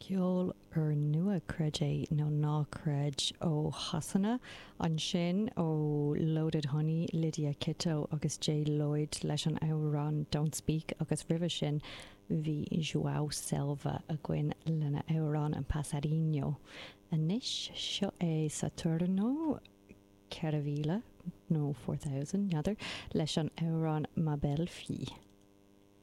Ceol úrnua, creid é nó ná creid, ó Shasana ansin, ó Loaded Honey, Lydia Kitto agus Jay Lloyd leis an amhrán Don't Speak agus roimhe sin bhí João Selva againn lena amhrán An Passarinho. Anois, seo é Saturno 4000 nó 4000, n'fheadar, leis an amhrán Ma Belle Fille.